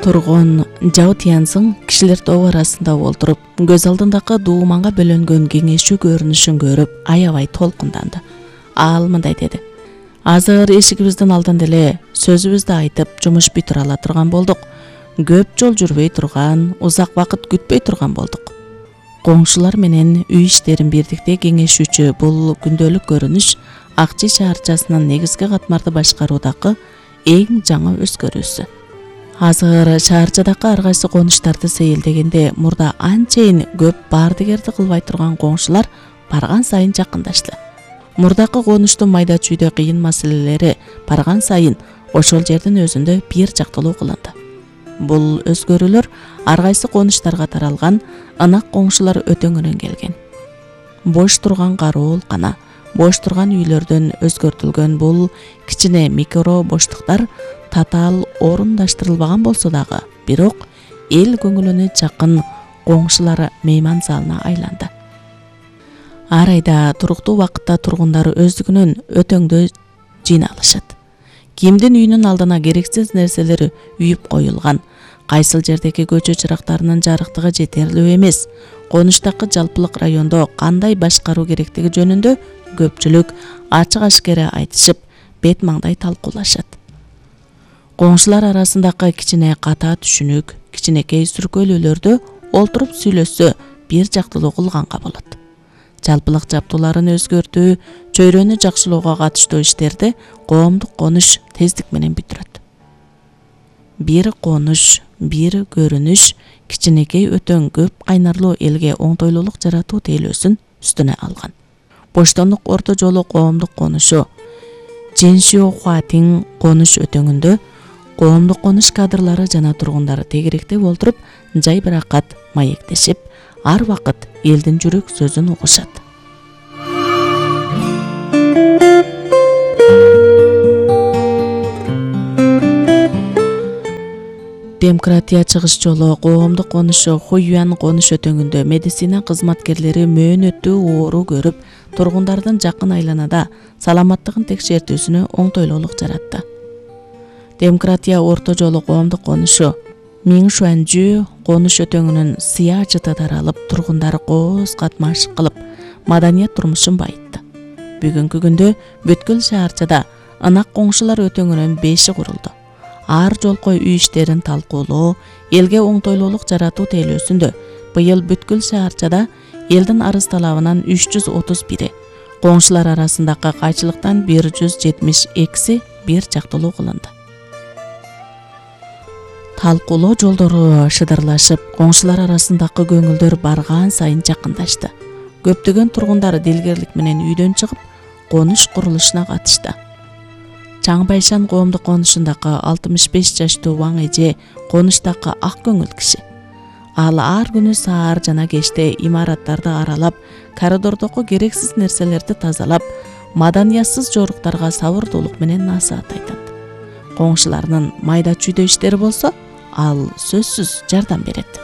тургун Жао Тяньзың кишилер тобу арасында олтуруп, көз алдындагы дууманга бөлөнгөн кеңешүү көрүнүшүн көрүп, аябай толкунданды. Ал мындай деди: азыр эшигибиздин алдында эле сөзүбүздү айтып, жумуш бүтүрө ала турган болдук. Көп жол жүрбөй турган, узак убакыт күтпөй турган болдук. Коңшулар менен үй иштерин бирдикте кеңешүүчү бул күндөлүк көрүнүш Акчи шаарчасынын негизги катмарды башкаруудагы эң жаңы өзгөрүүсү. Азыр шаарчадагы ар кайсы конуштарды сейилдегенде мурда анчейин көп баардыгерди кылбай турган коңшулар барган сайын жакындашты. Мурдакы конуштун майда чүйдө кыйын маселелери барган сайын ошол жердин өзүндө бир жактылуу кылынды. Бул өзгөрүүлөр ар кайсы конуштарга таралган ынак коңшулар өтөңүнөн келген. Бош турган кароолкана, бош турган үйлөрдөн өзгөртүлгөн бул кичине микро боштуктар татаал орундаштырылбаган болсо дагы, бирок эл көңүлүнө жакын коңшулар мейман залына айланды. Ар айда туруктуу убакытта тургундар өздүгүнөн өтөңдө жыйналышат. Кимдин үйүнүн алдына керексиз нерселери үйүп коюлган, кайсыл жердеги көчө чырактарынын жарыктыгы жетерлүү эмес, конуштагы жалпылык райондо кандай башкаруу керектиги жөнүндө көпчүлүк ачык ашкере айтышып, бет маңдай талкуулашат. Коңшулар арасындагы кичине ката түшүнүк, кичинекей сүркөлүүлөрдө олтуруп сүйлөшсө бир жактылуу кылганга болот. Жалпылык жаптууларын өзгөртүү, чөйрөнү жакшылоого катыштуу иштерди коомдук конуш тездик менен бүтүрөт. Бир конуш, бир көрүнүш кичинекей өтөң көп кайнарлуу элге оңтойлуулук жаратуу тейлөөсүн үстүнө алган. Боштондук орто жолу коомдук конушу Жэншиохуатин конуш өтөңүндө коомдук конуш кадрлары жана тургундары тегеректеп олтуруп, жайбыракат маектешип, ар вакыт элдин жүрөк сөзүн угушат. Демократия чыгыш жолу коомдук конушу Хуюан конуш өтөңүндө медицина кызматкерлери мөөнөттүү оору көрүп, тургундардын жакын айланада саламаттыгын текшертүүсүнө оңтойлуулук жаратты. Демократия орто жолу коомдук конушу Миншуанжү конуш өтөңүнүн сыя жыты таралып, тургундар кооз катмаш кылып, маданият турмушун байытты. Бүгүнкү күндө бүткүл шаарчада ынак коңшулар өтөңүнүн 5 курулду. Ар жолкой үй иштерин талкуулоо, элге оңтойлуулук жаратуу тейлөөсүндө быйыл бүткүл шаарчада элдин арыз талабынан 331, коңшулар арасындагы кайчылыктан 172 бир жактылуу кылынды. Талкуулоо жолдору шыдырлашып, коңшулар арасындагы көңүлдөр барган сайын жакындашты. Көптөгөн тургундар дилгерлик менен үйдөн чыгып, конуш курулушуна катышты. Чаңбайшан коомдук конушундагы 65 жаштуу Ваң эже конуштагы ак көңүл киши. Ал ар күнү саар жана кечте имараттарды аралап, коридордогу керексиз нерселерди тазалап, маданиятсыз жоруктарга сабырдуулук менен насаат айтат. Коңшуларынын майда чүйдө иштери болсо, ал сөзсүз жардам берет.